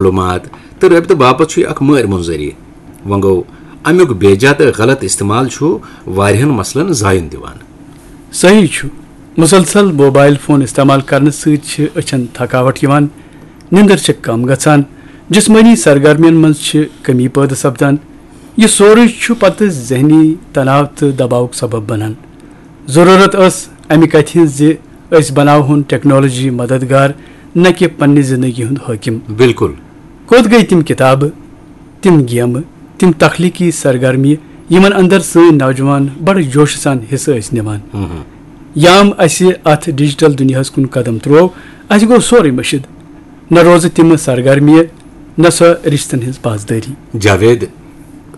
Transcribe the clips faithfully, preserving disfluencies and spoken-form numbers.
معلوٗمات تہٕ رٲبطہٕ باپتھ چھُ یہِ اکھ مٲرۍ مُنظری۔ وۄنۍ گوٚو، اَمیُک بے جا تہٕ غلط استعمال چھُ واریاہَن مسلن زایُن دِوان۔ صحیح چھُ، مسلسل موبائل فون استعمال کرنہٕ سۭتۍ چھِ أچھن تھکاوٹ یِوان، نِندٕر چھِ کم گژھان، جسمٲنی سرگرمین منٛز چھِ کمی پٲدٕ سپدان۔ یہِ سورُے چھُ پتہٕ ذہنی تناو تہٕ دباوُک سبب بنان۔ ضروٗرت ٲس امہِ کتھِ ہٕنٛز زِ أسۍ بناوہون ٹیکنالوجی مددگار، نہ کہِ پننہِ زندگی ہُنٛد حٲکِم۔ بالکل۔ کوٚت گٔے تِم کتابہٕ، تِم گیمہٕ، تِم تخلیقی سرگرمیہِ، یِمن اندر سٲنۍ نوجوان بڑٕ جوشہٕ سان حصہٕ ٲسۍ نِوان؟ یام اسہِ اتھ ڈیجیٹل دُنیاہس کُن قدم تروو، اسہِ گوٚو سورُے مٔشِد۔ نہ روزٕ تِم سرگرمیہِ، نہ سۄ رشتن ہٕنٛز پاسدٲری۔ جاوید،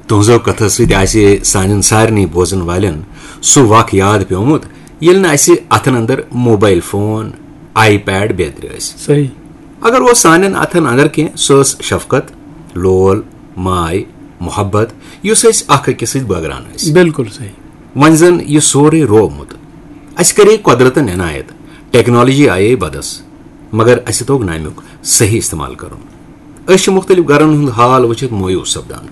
تُہنٛزو کتھو سۭتۍ آسہِ سانٮ۪ن سارنٕے بوزن والٮ۪ن سُہ وق یاد پیومُت، ییٚلہِ نہٕ اسہِ اتھن اندر موبائل فون، آئی پیڈ بیترِ ٲسۍ۔ صحیح۔ اگر اوس سانٮ۪ن اتھن اندر کینٛہہ، سۄ ٲس شفقت، لول، ماے، محبت، یُس أسۍ اکھ أکِس سۭتۍ بٲگراوان ٲسۍ۔ بالکل صحیح۔ وۄنۍ زن یہِ سورُے روومُت۔ اسہِ کرے قۄدرتن عنایت، ٹیکنالوجی آیے بدس، مگر اسہِ توٚگ نہٕ امیُک صحیح استعمال کرُن۔ أسۍ چھِ مختلف گرن ہُنٛد حال وٕچھِتھ مایوس سپدان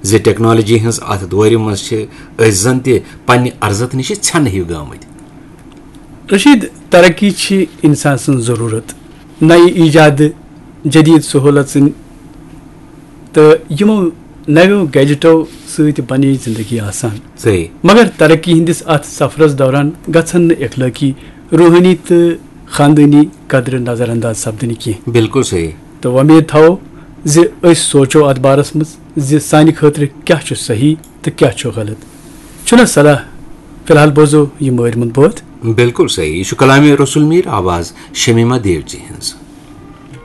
زِ ٹیکنالوجی ہٕنٛز اتھ دورِ منٛز چھِ أسۍ زن تہِ پننہِ ارزتھ نِش ژھٮ۪نہٕ ہیوٗ گٲمٕتۍ۔ رشید، ترقی چھِ انسان سٕنٛز ضروٗرت۔ نَیہِ ایجاد، جدید سہولژن تہٕ یِمو نویو گیجٹو سۭتۍ بنے زندگی آسان۔ صحیح۔ مگر ترقی ہٕنٛدِس اتھ سفرس دوران گژھن نہٕ اخلٲقی، روحٲنی تہٕ خاندٲنی قدرٕ نظر انداز سپدٕنہِ کینٛہہ۔ بالکل صحیح۔ تہٕ وۄمید تھاوو زِ أسۍ سونچو اتھ بارس منٛز زِ سانہِ خٲطرٕ کیٛاہ چھُ صحیح تہٕ کیٛاہ چھُ غلط۔ چھُنہ صلاح؟ فی الحال بوزو یہِ مٲرۍ مُنٛد بٲتھ۔ بالکل صحیح۔ یہِ چھُ کلامِ رسول میر، آواز شمیمہ دیو جی ہٕنٛز۔